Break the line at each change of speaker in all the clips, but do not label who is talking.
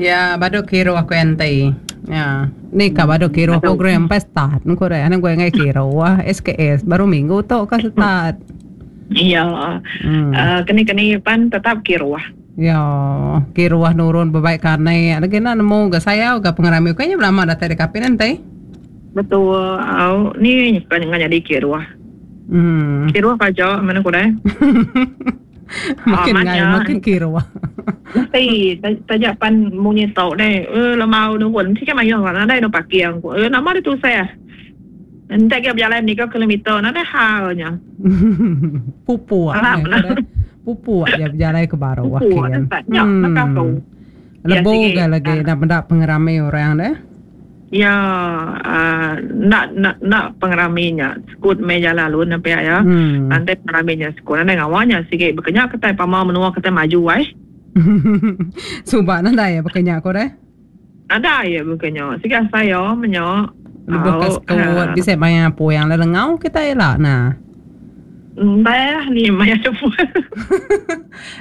Ya badu kiruh ku enti. Ya ni ka badu kiruh program empai start ku deh anang ku enggai kiruh SKS baru minggu tu ka start.
Ya uhh keni keni pan tetap kiruh.
Ya kiruh nurun bebai kanek lagi enda nemu ga sayau ga pengerami ukai nya belama datai deka kapit enti.
Betul au ni nyuka nyadi kiruh.
Uhh.
Kiruh aja meh ku deh.
Makin ngai makin kiruh.
Mesti taja pan munyi tu deh eh lemau nurun sigi mayuh nadai no parking ku eh nama deh tusah. Enti agi bejalai meniga kilometer nadai hal nya.
Pupuk pupuk ja bejalai ke baruh
Pupuk nya baka tu.
Lebu ga lagi enda meda pengerami orang deh.
Iya uhh enda enda enda pengerami nya sekut meh jalai alun ne pia iya. Enti pengerami nya sekut nadai ngawa nya sigi baka nya kitai pama menua kitai maju ai.
Suba nadai iya baka nya ko deh.
Nadai iya baka nya sigi asai iya meh nya.
Lebuh ka sekut bisi maya puang lelengau kitai ila nah.
Entah ni maya puang.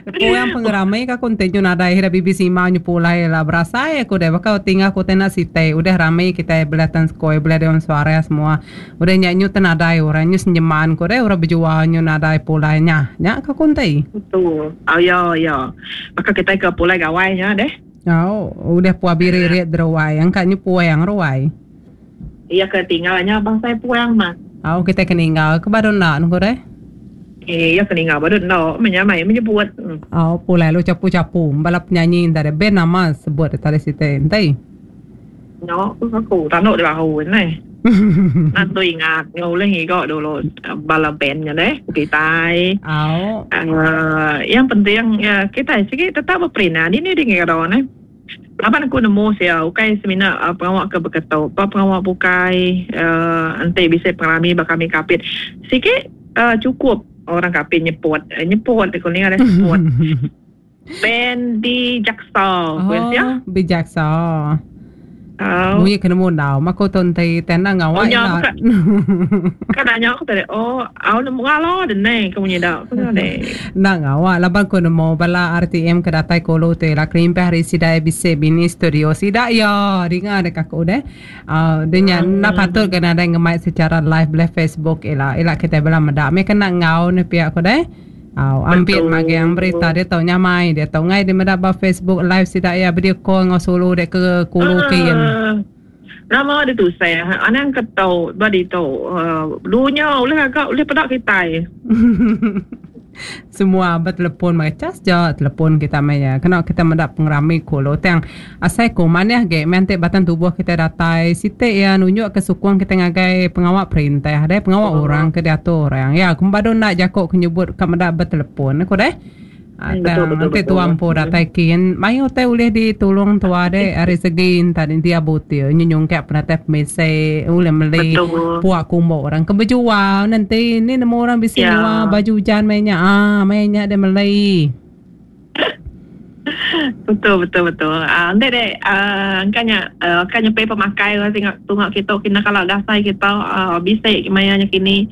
Puang pengerami ka ku enti nyu nadai ira bibi sima nyu pulai la berasai aku deh baka tinggal ku tenda siti udah rami kitai belah tan sekoi belah dewan suara semua udah nya nyu te nadai orang nyu senyeman ku deh orang bejual nyu nadai pulai nya nya ka ku enti.
Betul. Oh ya ya. Baka kitai ke pulai gawai nya deh.
Au udah puah biririt deruai angka nyu puang ruai.
Iya ke tinggal nya bangsa puang mah.
Au kitai ke ninggal ke baru enda nengku deh.
Iya ke ninggal baru enda meh nya mai menyebut.
Au pulai lalu chapu-chapu bala penyanyi enta deh band nama sebut deh tadi siti enti.
Nya ku aku tanu deh bahu neh. Tentu ingat enggau ulih ngiga dulu bala band nya deh kitai.
Au.
Aaa yang penting kitai sigi tetap beperindang dini dini ngira neh. Laban aku nemu sia ukai semina pengawa ke beketu ba pengawa bukai uhh enti bisi pengerami ba kami Kapit sigi uhh chukup orang Kapit nyeput nyeput ku ninga deh seput band di jaksa ku iya sia.
Oh bijaksa. Munyi ke nemu endau mah ku tu enti tai enda ngawa
ila. Ka nanya aku tadi oh au nemu ngala deh ney ku munyi da ku tadi.
Enda ngawa laban ku nemu bala RTM ke datai ke ulu tu ila kelimpah ari sida iya bisi bini studio sida iya dinga dek aku deh uhh deh nya enda patut ga nadai ngemai secara live beleh Facebook ila ila kitai bela meda meh kena enggau ne pia ku deh. Au ampit magang berita diatu nyamai diatu ngai di meda ba Facebook live sida iya video call enggau sulu dek ke kulu kin.
Nama ditu seh anang ke tu ba ditu dunya ulih gaga ulih peda kitai.
Semua betelepon mega cas ja telepon kita meh iya kena kita meda pengerami kulu tang asai ku manah agi meh enti batang tubuh kitai datai siti iya nunjuk ke sukung kitai ngagai pengawa perintah deh pengawa orang ke diatur orang iya ku badu enda jaku ke nyebut ka meda betelepon ku deh. Tang enti tua empu datai kin mayuh utai ulih ditulung tua deh ari segi enta dia butil nyu nyungkak penatai pemisi ulih meli puak kumbu orang ke bejual nenti ni nemu orang bisi nyua baju ujan maya nya aaa maya nya deh meli.
Betul betul betul aaa enti deh aaa engka nya engka nyepi pemakai tunga kitu kina kala dasai kita aaa bisi maya nya kini.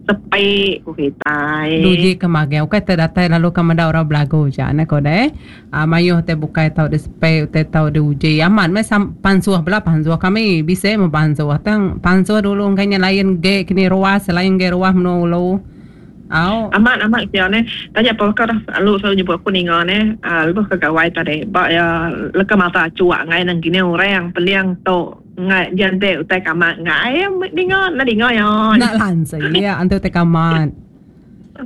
Sepi ku kitai.
Duji ke magang ukai te datai lalu ka meda orang belagu ja ne ko deh. Aa mayuh te bukai tau disepi utai tau diuji amat meh pansuh bela pansuh kami bisi meh pansuh tang pansuh dulu engka nya lain ge kini ruas lain ge ruas menua ulu. Au.
Amat amat sia neh taja pa baka dah lalu selalu nyebut aku ninga neh aa lebuh ke gawai tadi ba iya leka mata achuk angai nang kini orang peling tu. Ngai jante utai kamat ngai dinga enda dinga iya.
Enda lansi iya antu utai kamat.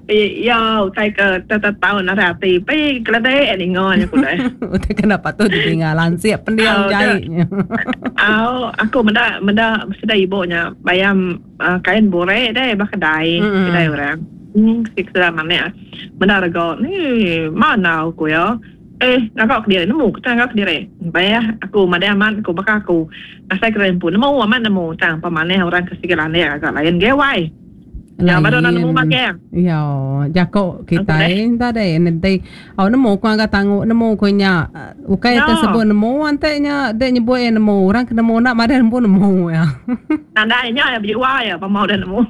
Iya utai ke tetau narai ati pi keledek dinga nya ku deh.
Utai ke enda patut didinga lansik pendiau jai nya.
Au aku meda meda sida ibu nya bayam kain bure deh ba kedai kedai orang. Sida manik meda rega ni manau ku iya. Eh, ngaga kediri nemu ke tang ngaga kediri. Bayah aku madai amat ku baka aku. Asai kediri empu nemu amat nemu tang pemanah orang ke sigi landik ngaga lain ge wai. Ya baru enda nemu magang.
Iya, jako kitai enta deh enti au nemu ku ngaga tangu nemu ku nya. Ukai te sebut nemu enti nya dek nyebut iya nemu orang ke nemu enda madai empu nemu iya.
Nadai nya iya bejual iya pama udah nemu.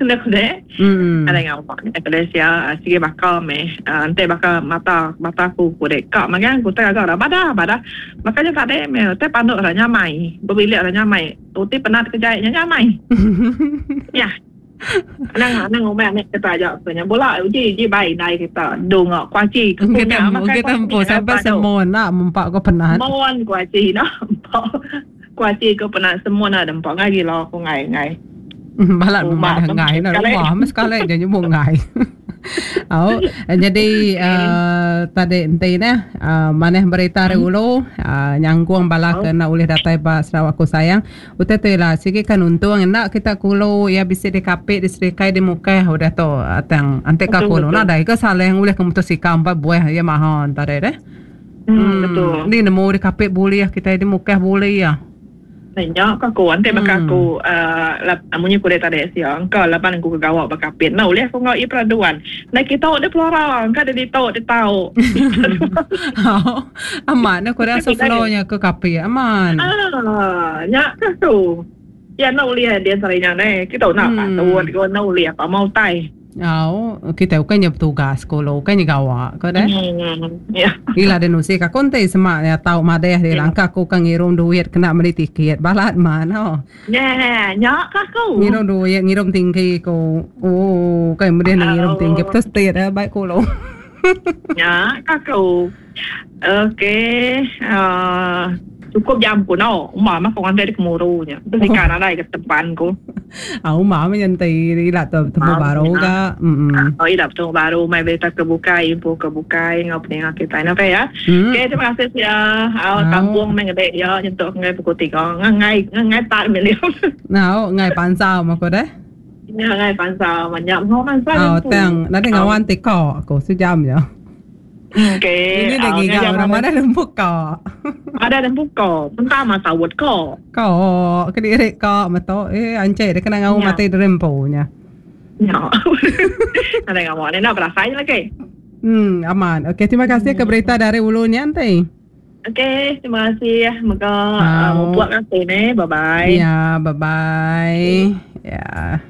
Enda ku deh. Ada ngawa nya ku deh sia sigi baka meh enti baka mata mata aku ku deh ka magang ku tai gaga badah badah baka nya tadi meh utai panduk ra nyamai bebilik ra nyamai uti penat ke jai nya nyamai. Nyah. Anang anang ngumbai anak kita aja ku nya bula uji uji bai indai kita dunga kuaci ke ku nya
makai
kuaci
empu sampai semua nak mempa ko penat.
Mon kuaci no empa kuaci ko penat semua nak empa ngai gila ku ngai ngai.
Balat madah ngai na rumah meh sekali ja nyebut ngai. Au jadi uh, tadi enti neh uh, manah berita ari ulu uh, nyanggung bala ke enda ulih datai ba Sarawak ku sayang. Utai tu ila sigi kan untung enda kita kulu iya bisi di Kapit di Serikai di Mukah udah tu tang enti ka kulu nadai ke salah ngulih ke motosikal empat buah iya maha tadi deh.
Hmm, betul.
Ni nemu di Kapit bulih kitai di Mukah bulih iya.
Nya ka aku enti baka aku uhh munyi ku dek tadi sia engka laban aku ke gawa ba Kapit enda ulih aku enggau iya peraduan. Ndai kitu deh Flora engka deh ditu deh tau.
Amat ne ku rasa flow nya ke Kapit amat.
Aaa nya ka aku. Iya enda ulih dia sehari nya neh kitu enda patut ko enda ulih pama utai.
Au, kitai ukai nya betugas ku lu, ukai nya gawa ko deh. Ila deh nusi ka aku enti sema iya tau madeh deh langka aku ka ngirum duit kena meli tiket balat man ho.
Nya nya ka aku.
Ngirum duit ngirum tinggi ku. Ooh kai medih ne ngirum tinggi betul state eh bai ku lu.
Nya ka aku. Okey uhh cukup jam ku no uma mah ku nganti dek muru nya. Tu sika nadai ke tepan ku.
Au uma meh nya enti ila tu betemu baru ga.
Emm. Oh ila betemu baru mai berita ke bukai info ke bukai enggau peninga kitai ne okey ya. Okey terima kasih sia au kampung meh ngede iya nyentuk ngagai pukul tiga ngangai ngangai part meh liu.
Au ngai pansau meh ku deh.
Nya ngai pansau manya meh mansa
Au tang nadai ngawan ti ko ku sejam nya.
Okey.
Ini dah giga orang mana lembu ko.
Ada lembu ko. Entah masa wut ko.
Ko kediri ko meto eh ancik dia kena ngau mati derempu nya.
Nya. Ada ngau ni nak berasai lagi.
Aman. Okey, terima kasih ke berita dari ulu ni nanti.
Okey, terima kasih. Moga uh, buat kasih ni. Bye bye.
Ya, bye bye. Ya.